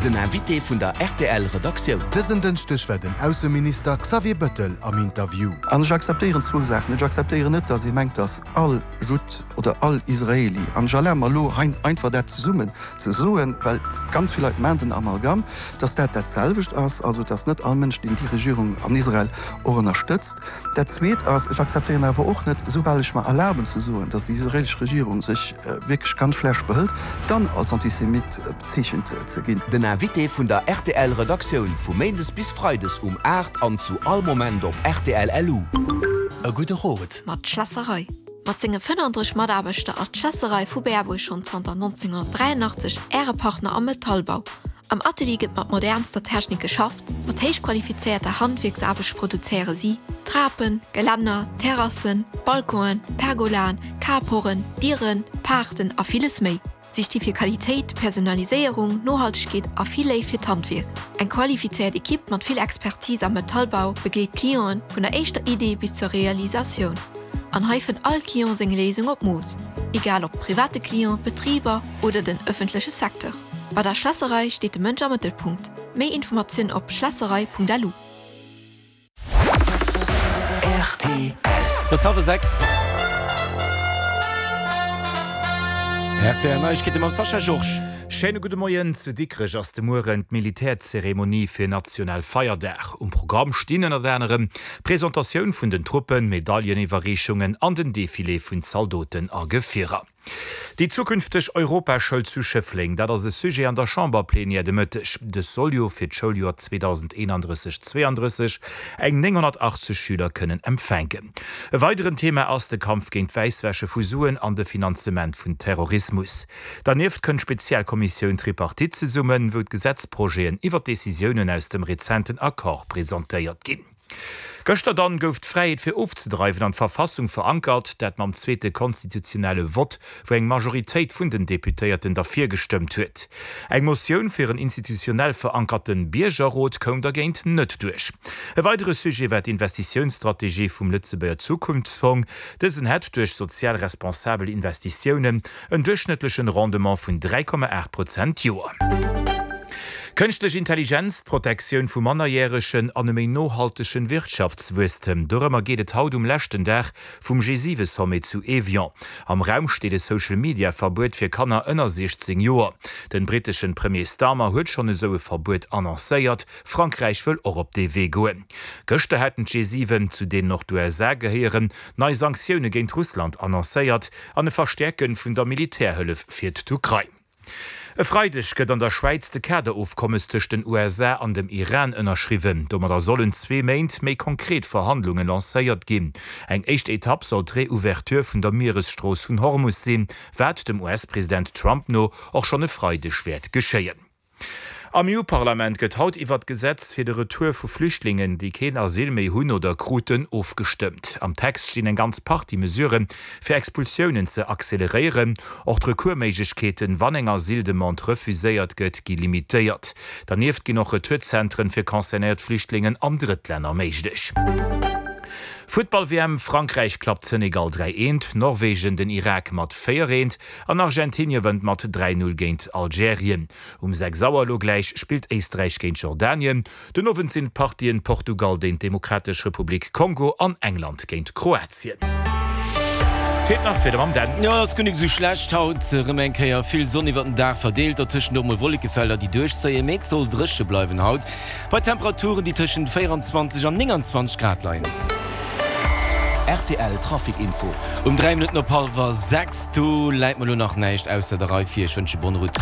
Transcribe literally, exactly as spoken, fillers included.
Den Invité vun der R T L Redaktioun. Dësen Dënschdeg war den Ausseminister Xavier Bettel am Interview. An ech akzeptéieren zwou Saachen. Ech akzeptéieren net, datt ee mengt, datt all Judd oder all Israeli, an ech erlabe mer elo einfach dat zesummen ze soen, well ganz vill Leit maachen den Amalgam, datt dat dat selwecht ass, also datt net all Mënsch, deen déi Regierung an Israel och ënnerstëtzt. Dat Zweet ass, ech akzeptéieren awer och net, soubal ech mer erlaben ze soen, datt déi israelesch Regierung sech wierklech ganz schlecht behëlt, dann als Antisemit bezeechent ze ginn. Den Invité vun der R T L Redaktioun vu Méindes bis Freides um aacht an zu all Moment op R T L L U. E gudde Rot. Mat Schlässerei. Mat senge fënnenddrësseg Mataarbechter ass d'Schlässerei vu Berbuerg schonn zanter nonzénghonnertdräianachtzeg Äre Partner am Metallbau. Am Atelier gëtt mat modernster Technik geschafft, mat héichqualifizéierter Handwierksaarbecht produzéiere si Trapen, Gelänner, Terrassen, Balconen, Pergolaen, Carporten, Dieren, Paarten a villes méi. Si sti fir Qualitéit, Personaliséierung, Nohaltegkeet a vill Léift fir d'Handwierk. Eng qualifizéiert Ekipp mat vill Expertise am Metallbau begleet d'Clienten vun der éischter Idee bis zur Realisatioun. An hei fënnt all Client seng Léisung op Mooss, egal ob private Client, Betriber oder den ëffentleche Secteur. Bei der Schlässerei steet de Mënsch am Mëttelpunkt. Méi Informatiounen op schlässerei Punkt L U. R T L. Et ass hallwer sechs. R T L Neiegkeete mam Sascha Georges. Schéine gudde Moien. Zu Dikrech ass de Mueren d'Militärzeremonie fir nationale Feierdag. Um Programm stinn ënnert anerem Presentatioun vun den Truppen, Medailleniwwerreechungen an den Defilé vun Zaldoten a Gefierer. Déi zukünfteg Europaschoul zu Schëffleng, dat ass e Sujet an der Chamberplenière de Mëtteg. Dës soll jo fir d'Schouljoer zweedausendeenandrësseg zweeandrësseg eng nénghonnertachtzeg Schüler kënnen empfänken. E weideren Thema ass de Kampf géint d'Wäisswäsche vu Suen an de Finanzement vun Terrorismus. Dernieft kënnt d'Spezialkommissioun Tripartite zesummen, wou d'Gesetzprojeten iwwer Decisiounen aus dem rezenten Accord presentéiert ginn. Gëschter dann gouf d'Fräiheet fir ofzedreiwen an d'Verfassung verankert, dat mam zweete konstitutionelle Vott, wou eng Majoritéit vun den Deputéierten derfir gestëmmt huet. Eng Motioun fir en institutionell verankerte Biergerrot koum dergéint net duerch. E weidere Sujet war d'Investitiounsstrategie vum Lëtzebuerger Zukunftsfong. Dësen hätt duerch sozial responsabel Investitiounen en duerchschnëttlechen Rendement vun dräi Komma aacht Prozent d'Joer. Kënschtlech Intelligenz, d'Protektioun vu Mannerjäregen an e méi nohaltegen Wirtschaftswuesstem. Dorëmmer geet et haut um leschten Dag vum G siwe Sommet zu Evian. Am Raum steet e Social-Media-Verbuet fir Kanner ënner siechzéng Joer. Den britteschen Premier Starmer huet schonn esou e Verbuet annoncéiert. Frankräich wëll och op dee Wee goen. Gëschter haten d'G siwen, zu deenen och d'U S A gehéieren, nei Sanktioune géint Russland annoncéiert an e Verstäerke vun der Militärhëllef fir d'Ukrain. E Freideg gëtt an der Schwäiz de Kaderofkommes tëscht den U S A an dem Iran ënnerschriwwen. Domadder sollen zwee Méint méi konkret Verhandlunge lancéiert ginn. Eng éischt Etapp soll d'Reouverture vun der Mieresstrooss vun Hormus sinn, wat dem U S-President Trump no och schonn e Freideg wäert geschéien. Am E U-Parlament gëtt haut iwwer d'Gesetz fir de Retour vu Flüchtlingen, déi keen Asyl méi hunn oder kruten, ofgestëmmt. Am Text stinn eng ganz Partie Mesuren, fir Expulsiounen ze acceleréieren. Och d'Recoursméiglechkeeten, wann eng Asyldemande refuséiert gëtt, gi limitéiert. Dernieft ginn och Retourzentren fir concernéiert Flüchtlingen an Drëttlänner méiglech. Futtball-W M: Frankräich klappt Senegal dräi eent, Norwegen den Irak mat véier eent an Argentinie wënnt mat dräi null géint Algerien. Um sechs Auer elo gläich spillt Éisträich géint Jordanien. Den Owend sinn d'Partien Portugal géint d'Demokratesch Republik Kongo an England géint Kroatien. Feelt nach d'Wieder mam Dan. Jo, ass guer nik esou schlecht haut. Erëm eng Kéier vill Sonn iwwert den Dag verdeelt, dertëschent och mol Wollekefelder, déi duerchzéien, mee et soll dréche bleiwen haut bei Temperaturen, déi tëschent véieranzwanzeg an nénganzwanzeg Grad leien. R T L Trafic Info. Um dräi Minutten op hallwer sechs, do läit mer elo nach näischt ausser der Rei vir. Ech wënsche bonne route.